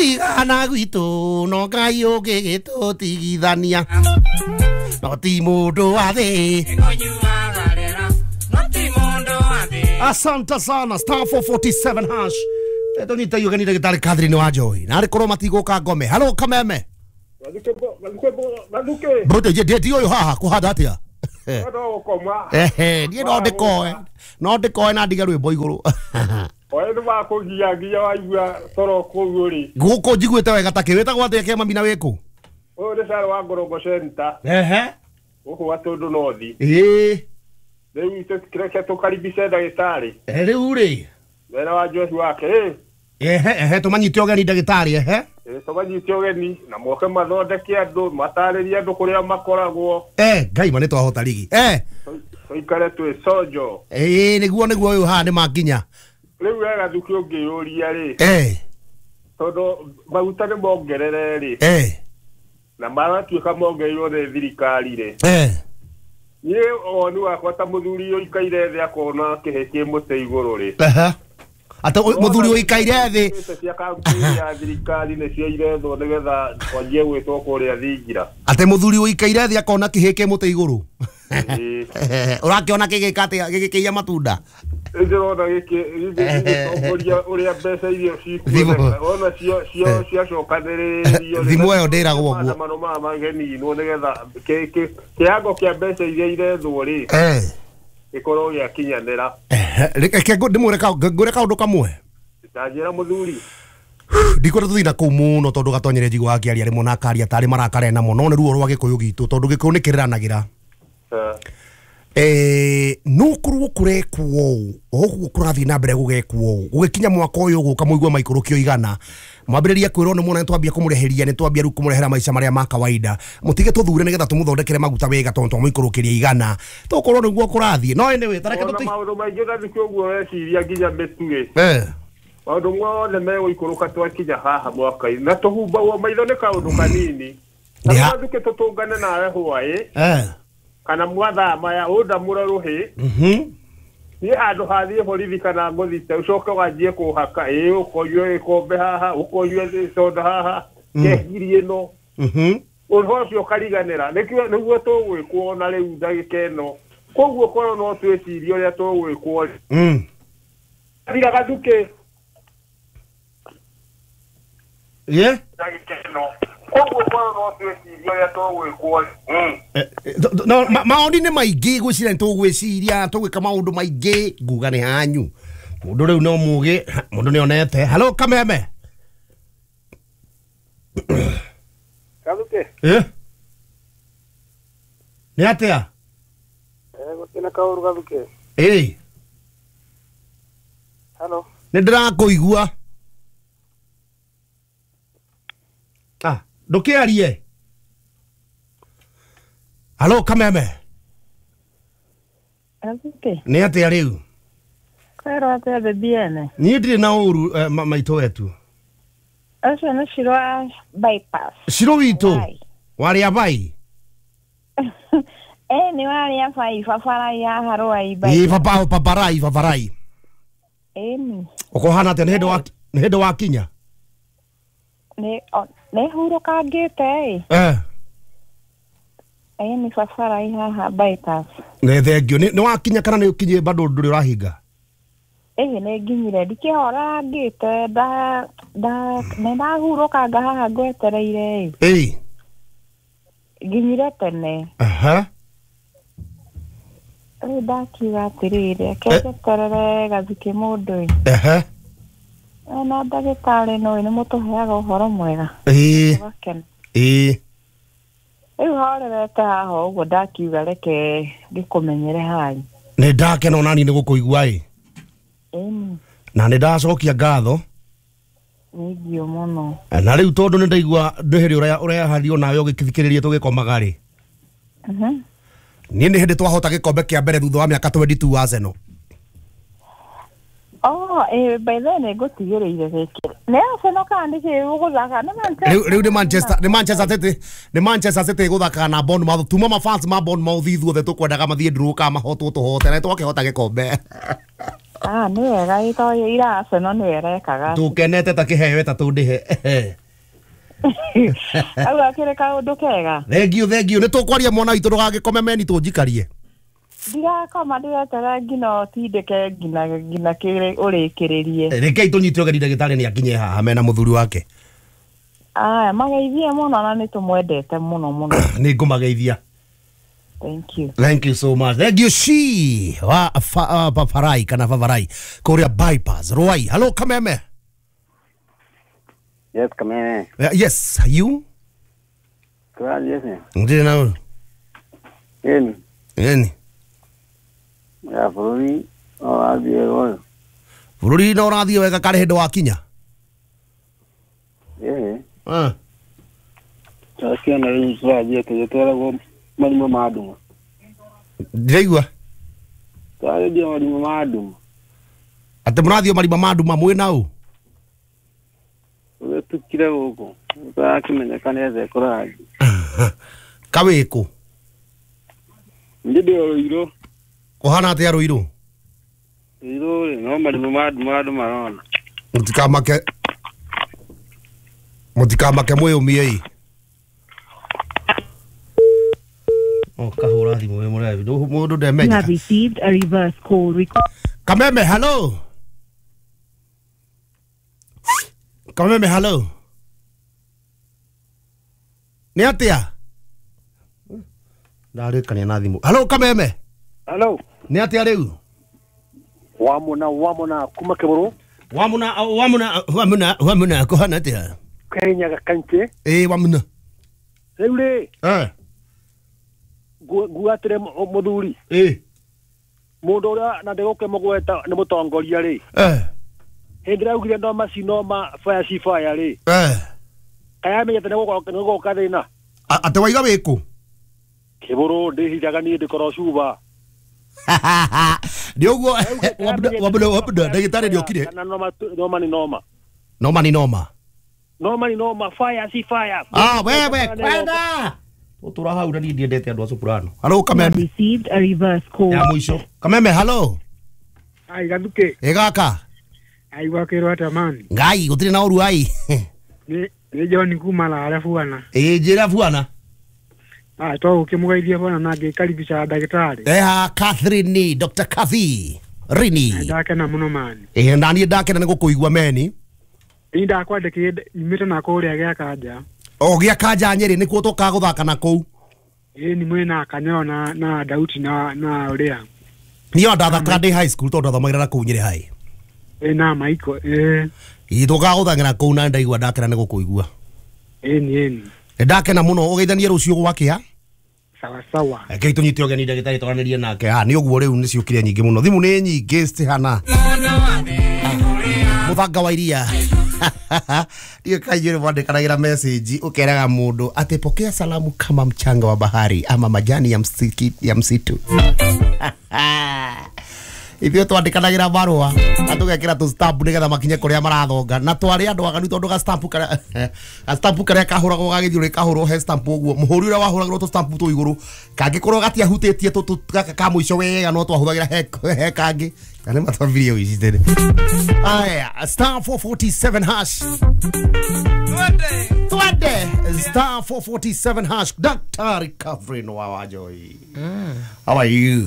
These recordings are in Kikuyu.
Gũtigana gwitũ no Ngai ũngĩgĩtũtigithania no ti mũndũ wa thĩ. Asante sana star 447 hash. Tũnyite ũgeni ndagĩtarĩ Catherine wa Njohi na arĩ korwo matigũka ngome. Halo Kameme. Mbũte je ndi ũyũ haha kũhanda atĩa? Ehe, niĩ no ndĩkoe. No ndĩkoe na ndige rwĩmbo igũrũ. Oe nĩ makũgia nginya waigua toro kũu ũrĩ. Gũkũ njiguĩte wega ta kĩ wĩtagwo atĩa kĩama na wĩkũ? Ũyũ nĩ Sarah wa Ngorongo Center. Ehe. Gũkũ Gatũndũ North. Ĩĩ. Rĩu tũkĩreke tũkaribice ndagĩtarĩ. Rĩu rĩ. Wĩra wa Joshi wake ĩ. Ehe, ehe, tũmanyite ũgeni ndagĩtarĩ ehe. Tũmanyite ũgeni na moke mathondeke andũ matarĩrie andũ kũrĩa makoragwo. Ngai ma nĩ twahota rigi. Tũikare twĩ conjo. Ĩĩ nĩguo nĩguo ũyũ haha nĩ makinya. Rĩu we Gathuki ũngĩyũria rĩ. Tondũ maguta nĩ mongerere rĩ. Na maratuĩka mongereirwo nĩ thirikari rĩ. Niĩ woni wakwa ta mũthuri ũikaire thĩ akona kĩhĩ kĩ mũtĩ igũrũ rĩ. Ata mũthuri ũikaire thĩ. Cia kampuni ya thirikari nĩcio irethwo nĩgetha twanjie gwĩtwo kũrĩa thingira. Ate mũthuri ũikaire thĩ akona kĩhĩ kĩ mũtĩ igũrũ. Ũrakĩona kĩgĩka atĩa gĩgĩkĩiya matunda? Ndĩrona gĩkĩ gĩgĩtongoria ũrĩa mbeca iria cikuoneka ona cio ciacokanĩrĩrio. Thimũ ĩyo ndĩragwo ũguo. Maandamano maya mageninwo nĩgetha kĩango kĩa mbeca iria irethwo rĩ gĩkorwo gĩakinyanĩra. Reke ndĩmwĩre ngwĩre kaũndũ kamwe. Ndanjĩra mũthuri. Ndikwenda tũthiĩ na kũu mũno tondũ gatonyere njigua akĩaria rĩmwe na akaria tarĩ marakarena mũno nĩ ruo rwa gĩkũyũ gitũ tondũ gĩkũyũ nĩ kĩrĩranagĩra. No korwo kũrekwo ũũ ũguo kũrathiĩ na mbere gũgekwo ũũ gũgĩkinya mwaka ũyũ ũgũka mũigue maikũrũkio igana mwambĩrĩria kwĩrwo nĩ muona nĩtwambia kũmũrĩhĩria nĩtwambia rĩu kũmũrehera maica marĩa ma kawaida mũtige tũthure nĩgetha tũmũthondekere maguta wega tondũ twamũikũrũkĩria igana tũkorwo nĩguo kũrathiĩ no anyway tareke tũti maũndũ maingĩ Gathuki ũguo weciria nginya mĩtu rĩ maũndũ mothe megũikũrũka twakinya haha mwaka-inĩ na tũhumbagwo maitho nĩ kaũndũ kanini na Gathuki tũtũngane nawe hwaĩ kana mwathaa maya ũndamũre rũhĩ niĩ handũ hathiĩ borithi kana ngũthite ũcoke wanjie kũhaka ĩ ũkonyue gĩkombe haha ũkonyue soda haha kehiri ĩno ũhoro ũcio ũkariganĩra nĩguo tũgwĩkwo ona rĩu ndagĩka ĩno koguo korwo no twĩcirie ũrĩa tũgwĩkwo thira Gathuki ndagĩka ĩno koguo korwo no twĩcirie ũrĩa tũgwĩkwo. No maoni nĩ maingĩ gwĩciria nĩtũgwĩciria tũgwĩka maũndũ maingĩ nguga nĩ hanyu mũndũ rĩu no mũgĩ mũndũ nĩonete. Halo Kameme. Gathuki. Nĩ atĩa? Gũtirĩ kaũru Gathuki. Halo. Nĩ ndĩrakũigua. Ndũkĩarie. Halo Kameme. Gathuki. Nĩ atĩa rĩu? Kwĩrwo atĩa bebi ene? Niĩ ndirĩ na ũru maitũ wetu. Ũcio nĩ Shiro wa bypass. Shiro witũ? Warĩa bai? Nĩ warĩa bai babarai haha Rwai bai. Ĩ babarai babarai. Ĩni. Ũkũhana atĩa nĩ hĩndĩ wakinya? Nĩ hurũkangĩte ĩ. Nĩ babarai haha bypass. Nĩ thengio nĩ wakinya kana nĩ ũkinyie bado ndũrĩ ũrahinga? Nĩ nginyire ndikĩhorangĩte nĩ ndahurũkanga haha ngwetereire ĩ. Nginyire tene. Rĩu ndakiuga atĩrĩrĩ reke njeterere Gathuki mũndũ ĩ. Na ndagĩtarĩ no nĩ mũtũheaga ũhoro mwega. Rĩu horerete haha ũguo ndakiuga reke ngĩkũmenyere hanyu. Nĩ ndakena ona niĩ nĩ gũkũigua ĩ. Na nĩ ndacokia ngatho. Nĩngio mũno. Na rĩu tondũ nĩ ndaigua ndĩhĩrĩ ũrehario nawe ũgĩthikĩrĩria tũgĩkomaga rĩ. Niĩ nĩ hĩndĩ twahota gĩkombe kĩa mbere thutha wa mĩaka 22 Arsenal. Oh, by then nĩngũtigĩrĩire gĩkĩ. Nĩ Arsenal kana nĩ kĩ ũgũthaka? Nĩ Manchester. Rĩu nĩ Manchester, nĩ Manchester City, nĩ Manchester City ĩgũthakaga na Bournemouth. Tuma ma fans ma Bournemouth ithuothe tũkwendaga mathiĩ draw kana mahotwo tũhote na twakĩhota gĩkombe. Ah, nĩ wega ĩtoĩ ira Arsenal nĩ ĩrekaga. Tũkenete ta kĩheo ĩtatũ ndĩhe. Au akĩrĩ kaũndũ kega. Thank you, thank you. Nĩ tũkwaria mwana witũ ndũgagĩkome meni tũnjikarie. Ndirakoma ndĩreterera nginya ũtindĩke nginya kĩrĩ ũrĩkĩrĩrie. Rekei tũnyite ũgeni ndagĩtarĩ nĩ akinye haha mena mũthuri wake. Aya, mageithie mũno na nĩ tũmwendete mũno mũno. Nĩ ngũmageithia. Thank you. Thank you so much. Thank you she wa Paparai kana Favarai Korea bypass. Ruai. Hello Kameme. Yes, Kameme. Yes, you? Yes. Ndire na. Yeni. Yeni. Ya bũrũri no ũrathiĩ wega. Bũrũri no ũrathiĩ wega karĩ hĩndĩ wakinya? Ĩĩ. Ah. Twakiona rĩu tũrathiĩ tũgĩtwaragwo marima ma nduma. Ndiraigua. Twarathiĩ marima ma nduma. Atĩ mũrathiĩ marima ma nduma mwĩ na ũ? Tũgĩtukire gũkũ. Tũrakĩmenyeka nĩ ethe kũrathiĩ. Kawĩkũ? Niĩ ndĩ o Rũirũ. Kũhana atĩa Rũirũ? Rũirũ rĩ, no marima ma nduma andũ marona. Mũtikamake. Mũtikamake mwĩyũmie. Oh, kahũra thimũ wĩ mũrebi. Mũndũ ndemenya. You have received a reverse call request. Kameme, hello. Kameme, hello. Nĩ atĩa? Ndarĩkania na thimũ. Hello Kameme. Hello. Nĩ atĩa rĩu? Wamuna kuma Kĩbũrũ. Wamuna kũhana atĩa? Kenya kanche. Ĩĩ wamuna. Rĩu rĩ. Eh. Nguatire mũthuri. Ĩĩ. Mũndũ ũrĩa na ndĩgũkĩmũgweta nĩ mũtongoria rĩ. Eh. Hĩndĩ ĩrĩa augire noma si noma fire si fire rĩ. Eh. Kaĩ amenyete nĩ gũgoka thĩna. Atĩ waiga wĩkũ? Kĩbũrũ ndĩhithaga niĩ ndĩkorwo cuba. Nĩ ũguo wamuna ndagĩtarĩ nĩokire. Noma ni noma. Noma ni noma. Noma ni noma fire si fire. Ah, wewe kwenda. Tũtũra hau na niĩ ndiendete andũ a soprano. Hello Kameme. Received a reverse call. Ya mũico. Kameme, hello. Ai Gathuke. Ĩ gaka. Ai gwakĩrwo atĩa mani? Ngai gũtirĩ na ũru ai. Nĩ John kuma Lare bwana. Ĩ njĩra bwana. Ah, twagũkĩmũgeithia bwana na ngĩkaribisha ndagĩtarĩ. Eha Catherine, Dr. Cathy Rini. Ndakena mũno mani. Ĩ na niĩ ndakena nĩ gũkũigua meni. Niĩ ndakwandĩkire nyumĩte na kũrĩa gĩa Kanja. O gĩa Kanja Nyĩrĩ nĩkuo tũkaga gũthaka na kũu. Ĩ ni mwĩna Kanyoro na Dauti na ũrĩa. Niĩ ndathakaga ndĩ high school tondũ ndathomagĩra na kũu Nyĩrĩ high. Ĩ na Maiko ĩ. Ĩ tũkaga gũthakĩra kũu na ndaigua ndakena nĩ gũkũigua. Ĩ ni ĩ. Ndakena mũno ũgeithanie rũciũ gwakĩa. Sawa sawa. Rekei tũnyite ũgeni ndagĩtarĩ twaranĩrie nake. Ah, nĩ ũguo rĩu nĩ ciũkire nyingĩ mũno. Thimũ nĩ nyingĩ citihana. Mũthanga wa iria. Ndiyo kaijure mwandĩkanagĩra message ũkeraga mũndũ atĩ pokea salamu kama mchanga wa bahari ama majani ya msitu. Ithuĩ twandĩkanagĩra marũa na tũgekĩra tũ stamp nĩgetha makinye kũrĩa marathonga na twarĩ andũ aganu tondũ ga stamp karĩa kahũragwo gagĩthiũrũrĩ kahũrwo he stamp ũguo mũhũri ũrĩa wahũragĩrwo tũ stamp tũ igũrũ kangĩkorwo gatiahutĩtie tũ gaka ka mũico wega no twahũthagĩra he kangĩ kana matwambirie ũici tene. Aya, star 447 hash. Twende star 447 hash. Dr. Recovery no wa Joy. How are you?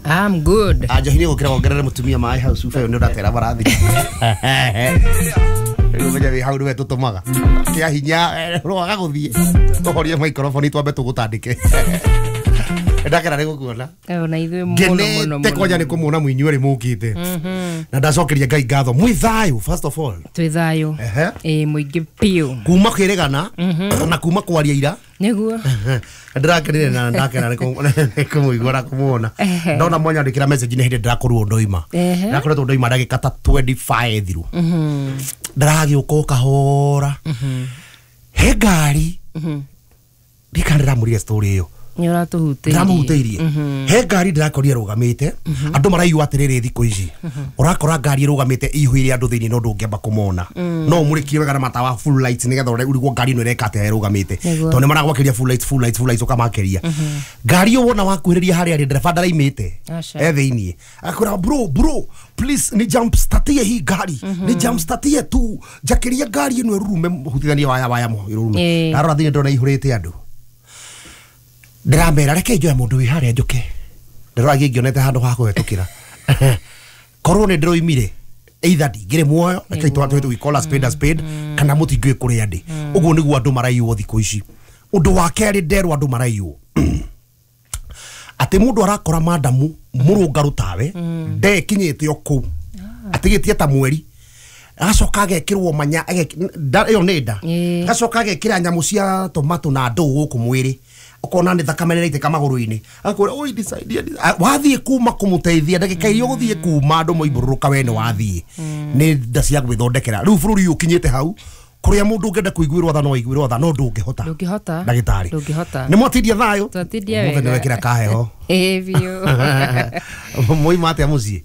I'm good. Ajo hini gukira wongerere mutumia mai house ufe ni uratera barathi. Rĩu menya wĩ hau nĩwe tũtũmaga. Kĩa hinya rwaga gũthiĩ. Tũhorie microphone twambe tũgũtandĩke. Ndakena nĩ gũkuona. Ona ithuĩ mũno mũno. Ngenete kwanja nĩ kũmuona mũinyuĩ rĩ mũkĩte. Na ndacokeria Ngai ngatho. Mwĩ thayũ first of all. Twĩ thayũ. Ĩ mũingĩ piũ. Kuma kwĩrĩgana na kuma kwaria ira. Nĩguo. Ndĩrakenire na ndakena nĩ kũmũigua na kũmuona. Ndona mwanyandĩkĩra message nĩ hĩndĩ ndĩrakorirwo ndoima. Ndĩrakoretwo ndoima ndagĩka ta 25 thiru. Ndĩragĩũka o kahora. He ngari. Ndikanĩramũrire story ĩyo. Nĩ ũratũhutĩirie. Ndĩramũhutĩirie. He ngari ndĩrakorire ĩrũgamĩte, andũ maraigua atĩrĩrĩ thikũ ici ũrakora ngari ĩrũgamĩte ĩihũire andũ thĩinĩ no ndũngĩamba kũmona, no ũmũrĩkie wega na matawa full lights nĩgetha ũrigwo ngari ĩno ĩreka atĩa ĩrũgamĩte, tondũ nĩ maragwakĩria full lights, full lights, full lights ũkamakeria. Ngari ĩyo wona wakuhĩrĩria harĩa arĩ, ndereba ndaraimĩte e thĩinĩ, akwĩra bro please ni jump startie hii ngari, ni jump startie tu, njakĩria ngari ĩno ĩrurume, hutithanie waya waya ĩrurume. Ndarora thĩinĩ ndona ihũrĩte andũ, ndĩramera reke njoe mũndũ wĩ harĩa njũke, ndĩrora ngĩonete handũ ha kũhetũkĩra. Korwo nĩ ndĩroimire either ndingĩrĩ muoyo, reke twatwe we call a spade a spade, kana mũtingĩũĩ kũrĩa ndĩ. Ũguo nĩguo andũ maraiywo thikũ ici. Ũndũ wa kerĩ nderwo andũ maraiywo atĩ mũndũ arakora madamu mũrũngarũ tawe ndekinyĩte o kũu atigĩtie ta mweri, agacoka agekĩrwo manya ĩyo nĩ nda, agacoka agekĩra nyamũ cia tomato na ndũũ gũkũ mwĩrĩ, ukona nĩ thakame nĩraitĩka magũrũ-inĩ, akwĩra oi nisaidie. Wathiĩ kuma kũmũteithia ndagĩka iria ũgũthiĩ kuma andũ moimbũrũrũka we nĩ wathiĩ nĩ nda cia gwĩthondekera. Rĩu bũrũri ũyũ ũkinyĩte hau kũrĩa mũndũ ũngĩenda kũiguĩrwo tha no aiguĩrwo tha, no ndũngĩhota. Ndũngĩhota. Ndagĩtarĩ. Ndũngĩhota. Nĩ mwatindia thayũ? Twatindia wega. Mũthenya wekĩra kaheho. Ĩĩ biũ. Mwaima atĩa mũciĩ?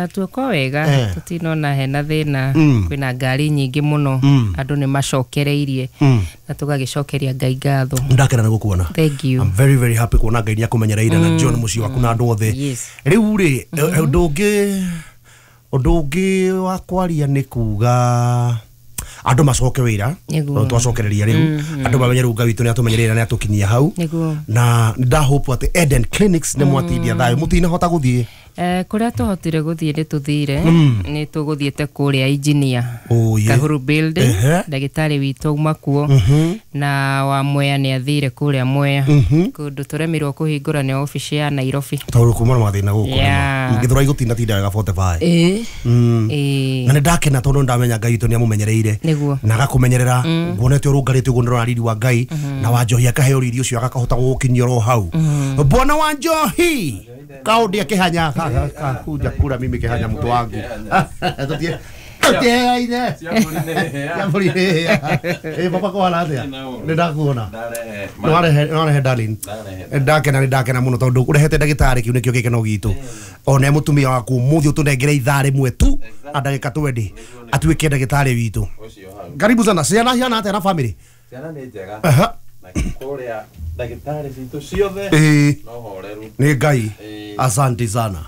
Tuoko wega, tũtinona hena thĩna, kwĩna ngari nyingĩ mũno, andũ nĩ macokereirie na tũgagĩcokeria Ngai ngatho. Ndakena nĩ gũkuona. Thank you. I'm very very happy kuona Ngai nĩakũmenyereire na John mũciĩ waku na andũ othe. Rĩu rĩ, ũndũ ũngĩ wa kwaria nĩ kuga andũ macoke wĩra, tondũ twacokereria rĩu andũ mamenye rĩu Ngai witũ nĩ atũmenyereire na nĩ atũkinyia hau, na ndahope atĩ Eden Clinics nĩ mwatindia thayũ, mũtinahota gũthiĩ. Kũrĩa tũhotire gũthiĩ nĩ tũthire, nĩ tũgũthiĩte kũrĩa engineer Kahuru building, ndagĩtarĩ witũ auma kuo, na wa Mwea nĩ athire kũrĩa Mwea, kũndũ tũremirwo kũhingũra nĩ obici ya Nairobi tondũ kuma na mathĩna gũkũ ngĩthũra igũtindatinda wega 45. Na nĩ ndakena tondũ ndamenya Ngai witũ nĩ amũmenyereire na agakũmenyerera, nguonete ũrũngarĩte ũguo ndĩrona riri wa Ngai na Wanjohi akaheo riri ũcio agakahota gũgũkinyia oro hau. Bwana Wanjohi kaundia kihanya kakuja kura mimi kihanya mtu wangu tutiaine baba ko hala atia nĩ ndakuona nĩ darling, ndakena nĩ ndakena mũno tondũ ũrehete ndagĩtarĩ kĩu nĩkĩo gĩkeno gitũ, ona mũtumia waku mũthĩ ũtũnengere ithaa rĩmwe tu na ndagĩka 20 atuĩke ndagĩtarĩ witũ. Karibu sana. Ciana ciana atĩa na family? Ciana nĩ njega na kũrĩa ndagĩtarĩ citũ ciothe no horeru nĩ Ngai. Asante sana.